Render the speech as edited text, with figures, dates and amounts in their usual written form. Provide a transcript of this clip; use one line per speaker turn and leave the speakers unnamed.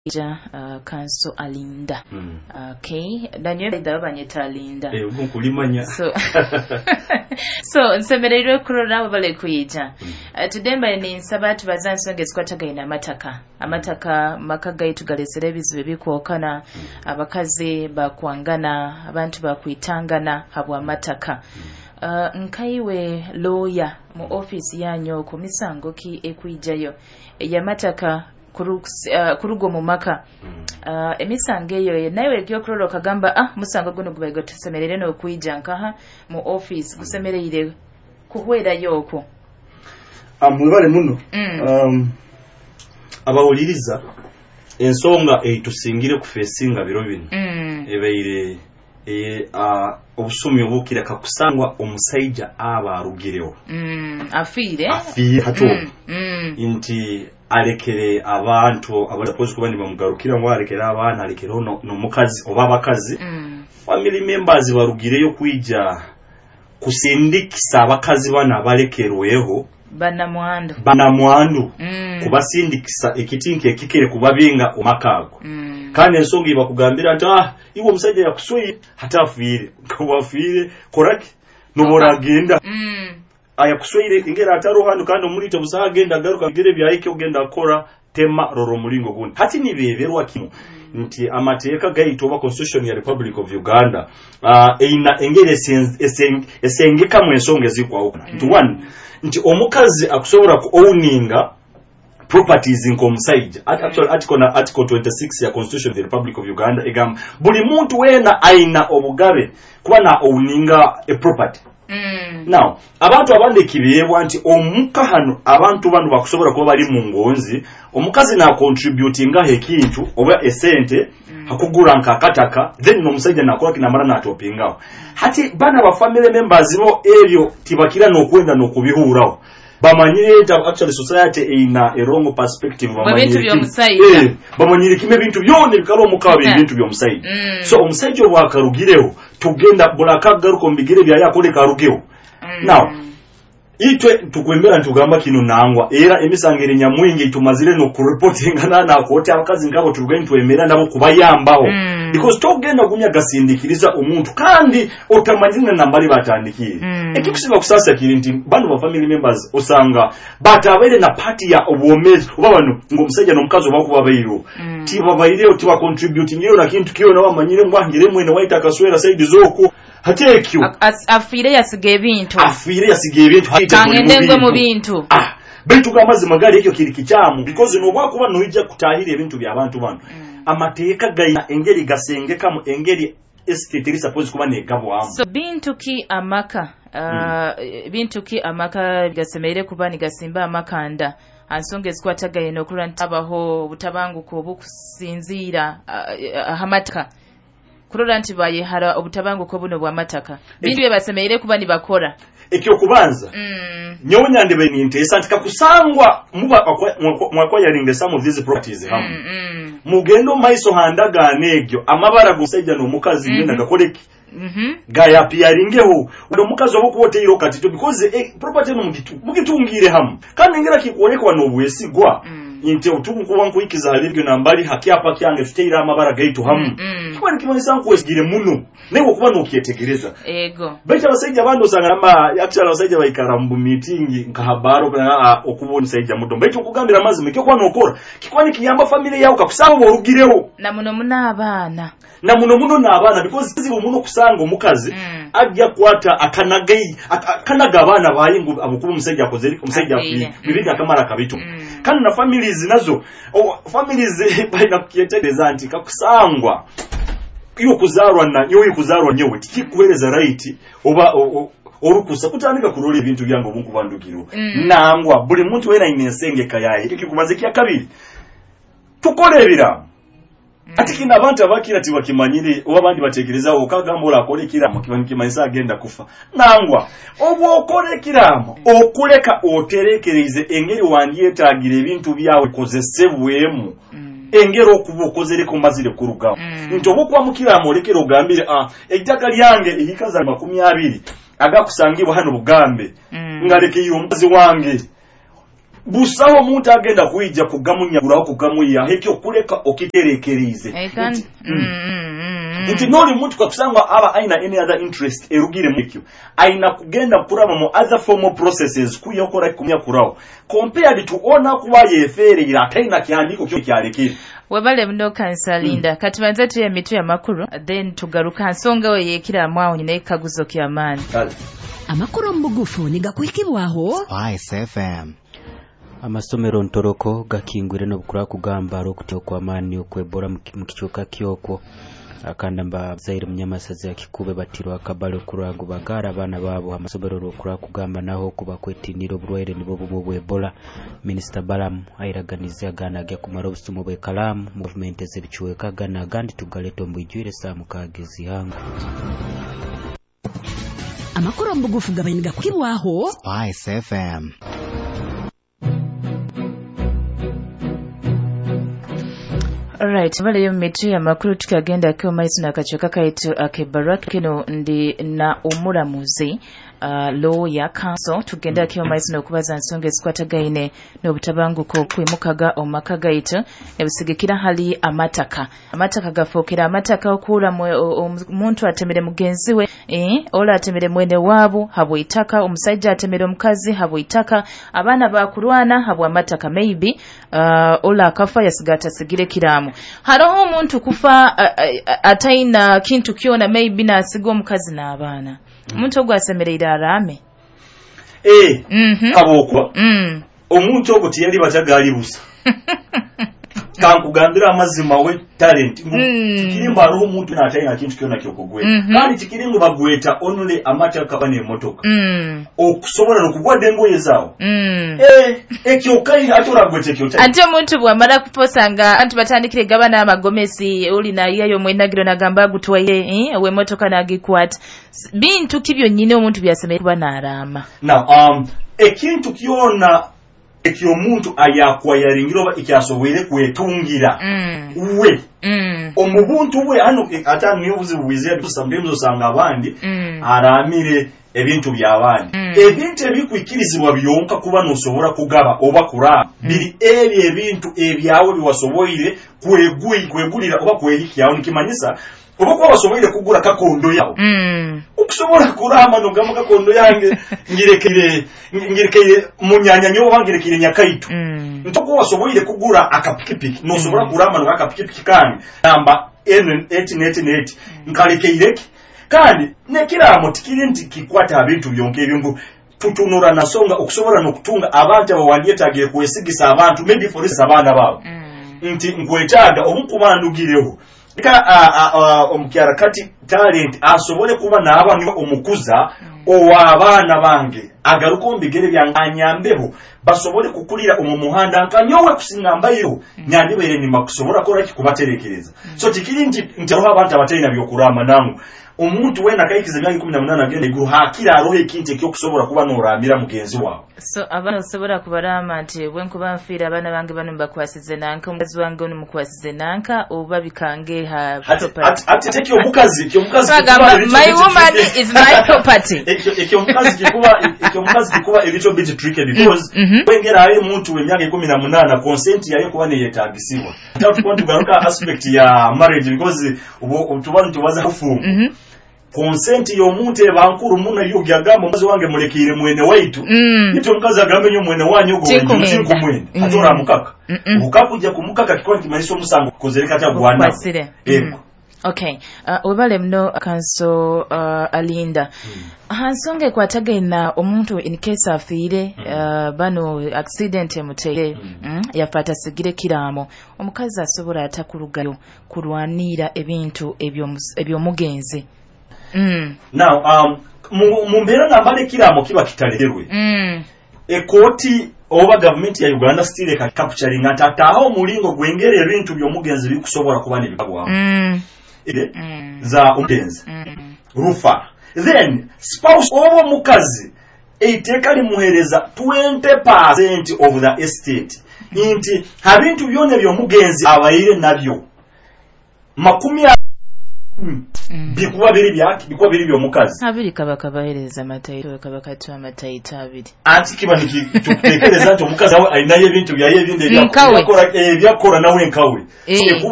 Ja Kanso Alinda. Okay, nanyowe ndaba banyeta Alinda.
Eh, nkulimanya.
So nsemereirwe kurora abo bali kwija. Today mbaye ninsaba tubaza nsonga ezikwatagaine amataka. Amataka maka gaitu galesere ebizibu ebikwokana, abakazi bakwangana, abantu bakwitangana habw'amataka. Nkaiwe lawyer mu office yanyu ku misango ki ekwijayo eyamataka kuruga omu maka? Emisango eyo nawe ekyokurora okagamba, musango guno gubaire gutusemereire n'okwija nkaha mu office, gusemereire kuhwerayo okwo.
Mwebale muno. Abawuliriza, ensonga eitusingire kufesinga biro bino ebaire obusumi obukira kakusangwa omusaija aba arugireho,
afiire
hati nti alekere abantu abakozi kuba nibamugarukira, ngu alekere abaana, alekereho n'omukazi oba abakazi, family members barugireyo kwija kusindikisa abakazi bana abalekerweho
banamwandu,
banamwandu, kubasindikisa ekitinka ekikere kubabinga omaka ago. Kandi ensonga ibakugambira nti, iwe omusajja yakuswire, hati afiire, wafiire koraki noboragenda ayakuswire ingera ataro hano, kandi omulite busaha agenda agaruka bigere byayike ogenda akora tema roro omulingo gundi. Hati nibeberwa kimu nti amateeka gaitu oba Constitution ya Republic of Uganda eina engeri esengekamu ensonga ezikwawukana. Nti one, nti omukazi akusobola ku owninga properties nk'omusajja. Actually, article na article 26 ya Constitution of the Republic of Uganda egamba buli muntu weena aina obugabe kuba na owninga a property. Now abantu abandi ekibeebwa nti omuka hano abantu bano bakusobola kuba bali mu ngonzi, omukazi nacontributingaho ekintu oba esente hakugura nk'akataka, then n'omusajja nakola kinamara natopingaho. Hati bana ba family members bo ebyo tibakira n'okwenda n'okubihuraho, bamanyire nti actually society eina a wrong perspective.
Ebintu by'omusajja.
Bamanyire kimwe ebintu byona ebikala omuka biri ebintu by'omusajja. So omusajja obwakarugireho, tugenda bulakagaruka omu bigere byaye akoleka arugeho. Now itwe tukwemera ntugamba kino nangwa, era emisango eri nyamwingi tumazire nokureportinga nakooti abakazi nkabo turugayo ntwemera nabo kubayambaho, because togenda gumya gasindikiriza omuntu kandi otamanyire na nambali batandikiire. Ekikusinga kusasa kiri nti bano ba family members osanga batabaire na party ya obwomezi oba bano ng'omusajja n'omukazi oba kuba baireho, tibabaireho, tibacontributingireho na kintu kyona, bamanyire ngu angire mwene waita akaswera saidi z'okwo. Hati ekyo
Afiire yasiga ebintu.
Afiire yasiga ebintu.
Kangende ngwe mu bintu.
Baitu gamazima gali ekyo kiri kikyamu, because nobwakuba noija kutahira ebintu by'abantu bano, amateeka gaina engeri gasengekamu engeri estate eri supposed kuba negabwamu.
So bintu ki amaka gasemereire kuba nigasimba amakanda ansonga ezikwatagaine n'okurora nti habaho obutabanguko obukusinziira ahamataka, kurora nti bayehara obutabanguko buno bw'amataka, bintu bye basemereire kuba nibakora?
Ekyokubanza, nyowe nyandebe ninteesa nti kakusangwa muba mwacquiringa some of these properties hamu, mugende omu maiso handagaano egyo, amabara g'omusajja n'omukazi ngenda gakoreki, gayapiyaringeho. Omukazi oba okuba oteireho katito, because property eno mugitungire hamu, kandi engera kikwolekwa n'obwesigwa nti otukuba nkuikiza hali ebyo nambali hakyapa kyange tuteire amabara gaitu hamu, kiba nikimanyisa nkwesigire muno naye okuba nokyetegereza. Baitu abasajja abandi osanga ama actually abasajja baikara mu meeting nka habaro okuba omusajja muto, baitu okugambira amazima ekyo kuba nokora kikuba nikiyamba family yawe kakusanga oba orugireho.
Na muno muno abaana.
Na muno muno n'abaana, because kizibu muno kusanga omukazi ajja kukwata akanaga abaana baye ngu abukuba omusajja akoze, omusajja
Afiire.
afiire, bibindi akamara akabito. Kandi na families nazo, families balina kukyetegereza nti kakusangwa iwe kuzarwa na nyowe, kuzarwa nyowe tikikuhereza right oba orukusa kutandika kurola ebintu byange obunkuba ndugirwe. Nangwa buli muntu wena aine ensengeka yaye. Ekyo kikubanza. Ekya kabiri, tukole ebiraamo. Ati kino abantu abakira tibakimanyire oba abandi batekerezaho okagamba orakora ekiraamo kiba nikimanyisa agenda kufa. Nangwa, oba okora ekiraamo okuleka oterekereize engeri wandyetaagira ebintu byawe kozesebwemu, engeri okuba okozereko mazire kurugaho, nti oba okuba mukiraamo olekere ogambire, ettaka lyange ehikaza 20 agakusangibwa hano Bugambe, ngalekeire omukazi wange. Busaho omuntu agenda kwija kugamunyaguraho, kugamuyihaho, ekyo kuleka okiterekereize. Nti noli muntu kakusangwa aba aina any other interest erugire mu ekyo, aina kugenda kuraba mu other formal processes kuyokora kumnyakuraho compared to ona kuba yefeereire ataina kihandiiko kyo kyalekere.
Webale muno kansalinda. Kati banze tuye emitwe y'amakuru, then tugaruka nsonga we yekiramu aho nyine ekaguzo ky'amaani.
Kale.
Amakuru omu bugufu nigakuhikibwaho
Spice FM.
Amasomero ntoroko gakingwire n'obukura kugamba okutya okw'amaani okwebora mu kichweka kyokwo. Akanda mbazaire munyamasazi ya Kikube batirwa akabale okuragu bagara abaana baabo amasomero olwokura kugamba naho kuba kwetinira oburwaire nibwo bumwe obw'Ebola. Minisita Balamu airaganize agana agya kumara obusumu bw'ekalaamu mu gavumenti ez'ebichweka gana agandi tugaleta omu bwijwire saa 6 ez'ihanga.
Amakuru omu bugufu gabaire nigakuhikibwaho
Spice FM.
Alright, bale mitu ya makuru tukagenda kwa maiso na kachoka kaitu akebarua kino ndi na omuramuzi lawyer counsel tugenda kwa maiso n'okubaza nsonga ezikwatagaine n'obutabanguko kwimukaga omaka gaitu ebisigikira hali amataka. Amataka gafookera amataka okura omuntu atemere mugenzi we, ola atemere mwene wabo habwitaka, omusajja atemere omukazi habwitaka, abaana bakurwana habwa amataka, maybe ola akafa yasigata sigire kiramu. Haroho omuntu kufa ataina kintu kyona, maybe nasiga omukazi n'abaana. Omuntu ogwo asemereire arame.
Abokwa. Omuntu ogwo tiyali batagali busa. Kankugambira amazima we talent. Kikirimba hariho omuntu n'ataina kintu kyona kyokugweta. Kandi kikiringo bagweta only amataka bane emotoka. Okusobola n'okugwadde engoye zaawo. Ekyo kayi ate oragweta ekyo tayi.
Ate omuntu bw'amala kuposanga anti batandikire gabana amagomesi oli nayiyayo mwenagiro nagamba agutwaire ow'emmotoka n'agikwata. Bintu ki byonnyini omuntu byasemere kuba n'araama?
Now, ekintu kyona ekyomuntu ayakwayaringira oba ekyasoboire kwetungira we omubuntu bwe hano ate niyo obuzibu bwizira sometimes osanga abandi aramire ebintu by'abandi. Ebintu ebikwikirizibwa byonka kuba nosobora kugaba oba kuraba biri ebyo ebintu ebyawe biwasoboire kwegulira oba kwehikyaho, nikimanyisa oba kuba wasoboire kugura kakondo yawe. Okusobola kurama nogamba kakondo yange ngirekere munyanya nyoba ngirekere nyakaitu. Ntoko wasoboire kugura akapikipiki nosobola kurama no akapikipiki kange namba N888 nkalekeireki. Kandi nekiramo tikiri nti kikwata abintu byonke ebyo tutunura nasonga okusobola nokutunga abantu abawandyetagire kwesigisa abantu maybe for instance abaana baabo. Nti nkwetaaga omukubandugireho ka omukyara kati talent asobole kuba naaba niwe omukuza ow'abaana bange agaruka omu bigere byange anyambeho basobole kukulira omu muhanda nkanyowe kusinga mbairo nyandibaire nyuma kusobola kora ki kubaterekereza. So tikiri nti hariho abantu abatalina byokurama nangu omuntu wena akayikiza emyaka 18 agenda iguru hakira aroho ekintu ekyokusobola kuba noramira mugenzi wawe.
So abaana osobola kubarama nti bwe nkuba nfiire abaana bange bano mbakwasize nanka, omukazi wange ono mukwasize nanka, oba bikange ha property.
Ate ekyomukazi
Bagamba, my woman is my property.
Ekyomukazi kikuba a little bit tricky because wengera ayo omuntu w'emyaka 18 consent yayo kuba neyetagisibwa. Ate tukuba tugaruka aspect ya marriage because tuba nitubaza kufumba. Consent y'omuntu eba nkuru muno iyo gyagamba omukazi wange mulekeire mwene waitu. Ito omukazi agambe nyo mwene wanyu ogwo tinkumwenda. Ate oramukaka. Okakujja kumukaka kikora kimanyisa omusango kukozereka ata gwana. Ego.
Okay. Webale muno kanso Alinda. Hansonga ekwatagaina omuntu in case afiire bano accident emuteire yafa asigire kiramo, omukazi asobola atakurugayo kurwanira ebintu ebyomugenzi.
Now mu mbeera nambale kiramo kiba kitalekerwe. Ekooti oba gavumenti ya Uganda still capturing atataho omulingo gwengere ebintu by'omugenzi bikusobola kuba nebibagwamu. Za omugenzi rufa then spouse oba omukazi eiteeka limuheereza 20% of the estate nti habintu byonna by'omugenzi abaire nabyo 20 Bikuba biri byaki, bikuba biri by'omukazi.
Abiri kaba kabahereza amataito, kaba katuwa amataito abiri.
Anti kiba nikitukutekereza nti omukazi awe alinayo ebintu byaye ebindi
Nkawe.
ebyakora nawe nkawe. So, ekuba